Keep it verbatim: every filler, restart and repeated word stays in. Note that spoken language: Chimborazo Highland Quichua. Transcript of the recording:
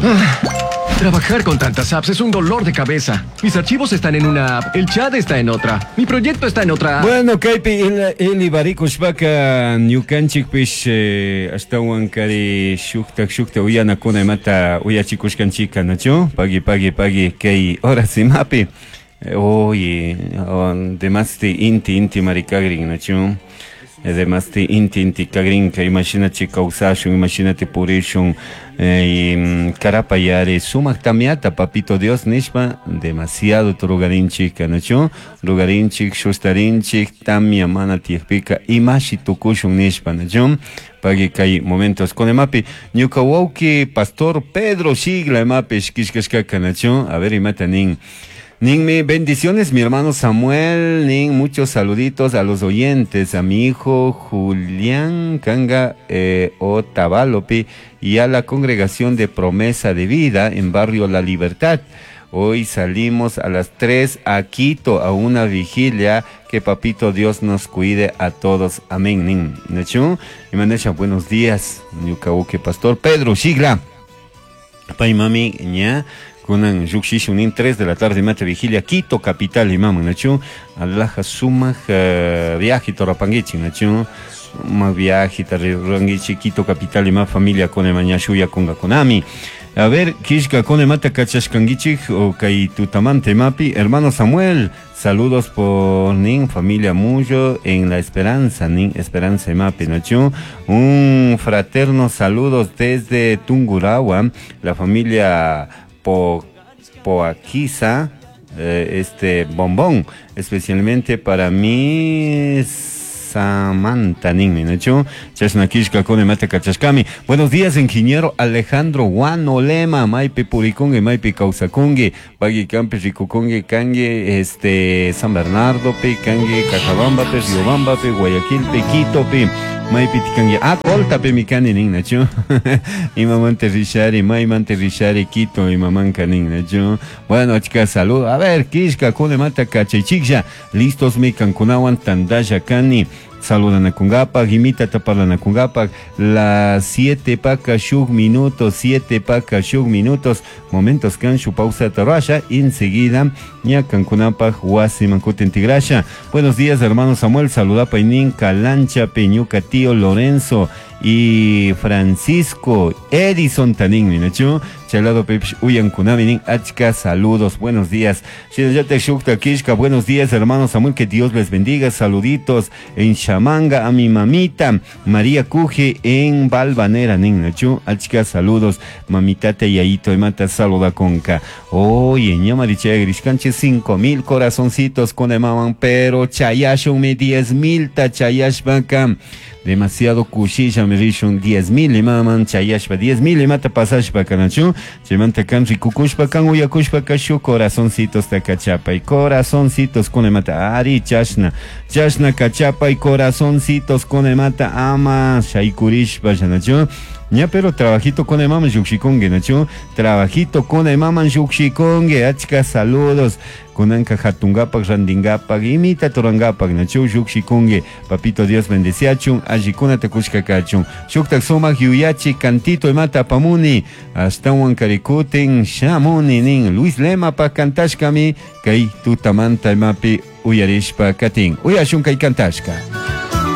Ah, trabajar con tantas apps es un dolor de cabeza. Mis archivos están en una app, el chat está en otra, mi proyecto está en otra app. Bueno, kaypi Eli barikushpaka ñukanchikpish eh, ashtawankari shuktak shukta uyanakuna imata uyachikushkanchika, nachu? Pagui, pagui, pagui, kay horas imapi. Oye, demasti inti inti marikagrin, nachu? Demasti inti inti kagrinka, imagínate kawsashun, imagínate purishun, eh, karapayari, sumak tamiata, papito Dios nishpa, demasiado rugarinchik, nachu? Rugarinchik, shustarinchik, tamia mana tiyakpika, imashi tukushun nishpa, nachu? Pagui kay momentos con emapi, ñuka wawki pastor Pedro Shigla emapi, shkishkashkaka, nachu? A ver, imata nin. Ninmi, bendiciones mi hermano Samuel, nin, muchos saluditos a los oyentes, a mi hijo Julián Kanga eh, Otavalopi y a la congregación de Promesa de Vida en Barrio La Libertad. Hoy salimos a las tres a Quito a una vigilia. Que papito Dios nos cuide a todos. Amén. Nin. Nachu, y manesha, buenos días. Ñuka wawki pastor Pedro Shigla. Pay mami, ña. Kunan llukshishunin tres de la tarde mate vigilia Quito capital imaman nachu alaja sumak uh, viaje torapanguichi nachu ma viaje tarranguichi Quito capital ima familia con maña shuya kunga konami. A ver, kishka con mata kachashkanguichik o kay tutamante mapi hermano Samuel, saludos por nin familia Muyo en la Esperanza, nin Esperanza mapi nachu, un fraterno saludos desde Tungurahua, la familia Po, Poaquiza, eh, este bombón, especialmente para mí Samantha ninmi, nachu? Chashna kishka kone mata kachashkami. Buenos días, ingeniero Alejandro Guanolema, maipi purikungi, maipi kawsakungi, pagui kampi rikukungi, kangi, este, San Bernardo pi, kangi, Cajabamba pi, Riobamba pi, Guayaquil pi, Quito pi, maipi tikangi, ah, colta pi mikani nin, nachu? Imamante rishari, maimante rishari, Quito, imamanka nin, nachu? Bueno, chicas, saludo. A ver, kishka kone mata kachaychiklla, listos mi kankunawan tandalla kani. Saludanakungapaj, imita taparlanakungapaj, las siete paka shuk minutos, siete paka shuk minutos, momentos kan shu pausa tarasha, enseguida ña kankunapaj wasiman kutin tigrasha. Buenos días, hermano Samuel, saluda painin Calancha, Peñuca, tío Lorenzo y Francisco Edison Tanin, minachu, chalado pepsh uyan kunaminin, achka, saludos, buenos días. Shinayate shukta kishka, buenos días, hermano Samuel, que Dios les bendiga, saluditos en Chamanga a mi mamita María Cuje en Balvanera, nin, nachu, achka, saludos, mamita te yaito y mata saluda conca. Oye, ñamariche grishkanche cinco mil corazoncitos con emaman, pero chayashun mi diez mil ta chayashbaka. Demasiado kushilla me rishun diez mil imaman chayashpa diez mil imata pasashpa kanachu chimanta kan rikukushpa kan uyakushpa kashu corazoncitos ta kachapa y corazoncitos con imata ari chashna chashna kachapa y corazoncitos con imata ama shaykurishpa shanachu. Ña pero trabajito con el maman yukshikongue, nachu. Trabajito con el maman yukshikongue, achka saludos. Kunanka hatungapak, randingapak, imita torangapak, nachu yukshikongue. Papito Dios bendeciachun, allikuna te kushka kachun. Shuktak sumak yuyachi, cantito imata pamuni. Hasta huankarikutin, shamuni nin. Luis Lema pa kantashkami, kay tutamanta imapi uyarishpa katin. Uyashun kay kantashka.